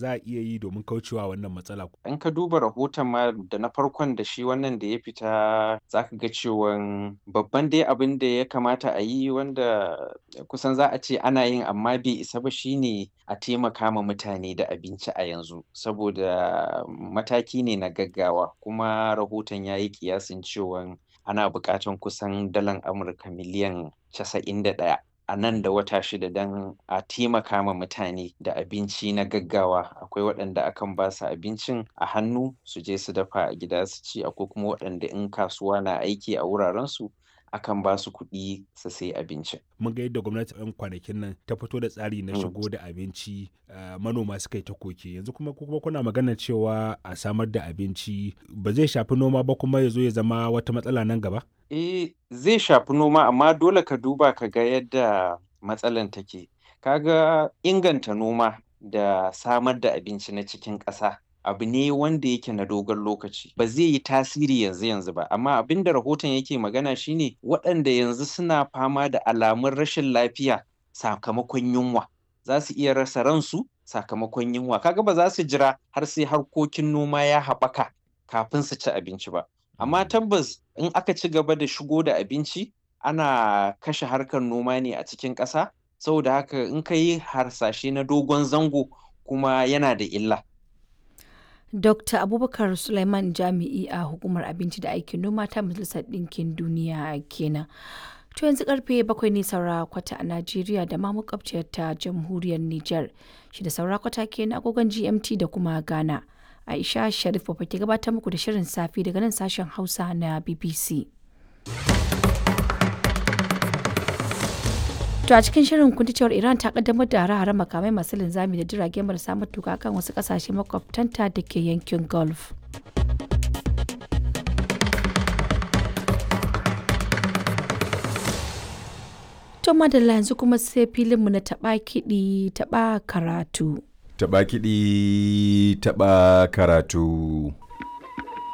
za a iya yi domin kaucewa wannan matsala? In ka duba rahoton ma da na farkon da shi wannan da ya fita, za ka ga cewan babban dai abin da ya kamata a yi, wanda kusan za a ce ana yin amma bai isa ba, shine a taimaka ma mutane da abinci a yanzu, saboda mataki ne na gaggawa. Kuma rahoton ya yi kiyasin cewan ana buƙatan kusan dalan Amurka miliyan 91 a nan da wata 6 don a taimaka ma mutane da abinci na gaggawa. Akwai waɗanda akan ba su abincin a hannu su je su dafa a gida su ci, akwai kuma waɗanda in kasuwa na aiki a wurarensu akan ba su kuɗi su sayi abincin. Mun ga yadda gwamnati 'yan kwanakin nan ta fito da tsari na shigo da abinci, manoma suka yi ta koke. Yanzu kuma kuna magana cewa a samar da abinci ba zai shafi noma ba kuma ya zo ya zama wata matsala nan gaba? Eh, zai shafi noma, amma dole ka duba ka ga yadda matsalan take. Ka ga inganta noma da samar da abinci na cikin ƙasa abu ne wanda yake na dogon lokaci. Ba zai yi tasiri yanzu yanzu ba, amma abin da rahoton yake magana shine waɗanda yanzu suna fama da alamun rashin lafiya sakamakon yunwa, za su iya rasa ransu sakamakon yunwa. Kaga ba za su jira har sai harkokin noma ya haɓaka kafin su ci abinci ba. Amma tabbas in aka ci gaba da shigo da abinci, ana kashe harkar noma ne a cikin ƙasa. Saboda haka in ka yi harsashe na dogon zango kuma yana da illa. Dr. Abubakar Sulaiman, jami'i a Hukumar Abinci da Aikin Noma ta Majalisar Ɗinkin Duniya kenan. To yanzu karfe 7 ne saura kwata a Najeriya da ma makwabciyar ta Jamhuriyar Nijar. 6 saura kwata kenan agogon GMT da kuma Ghana. Aisha Sharif Baba ke gabatar muku da shirin safe daga nan sashen Hausa na BBC. To a cikin shirin kun ji cewar Iran ta kaddamar da hare-hare makamai masu linzami da jirage marasa matuka kan wasu kasashe makwabtanta da ke yankin Gulf. To madalla, yanzu kuma sai filinmu na taɓa kiɗi taɓa karatu. Taɓa kiɗi, taɓa karatu.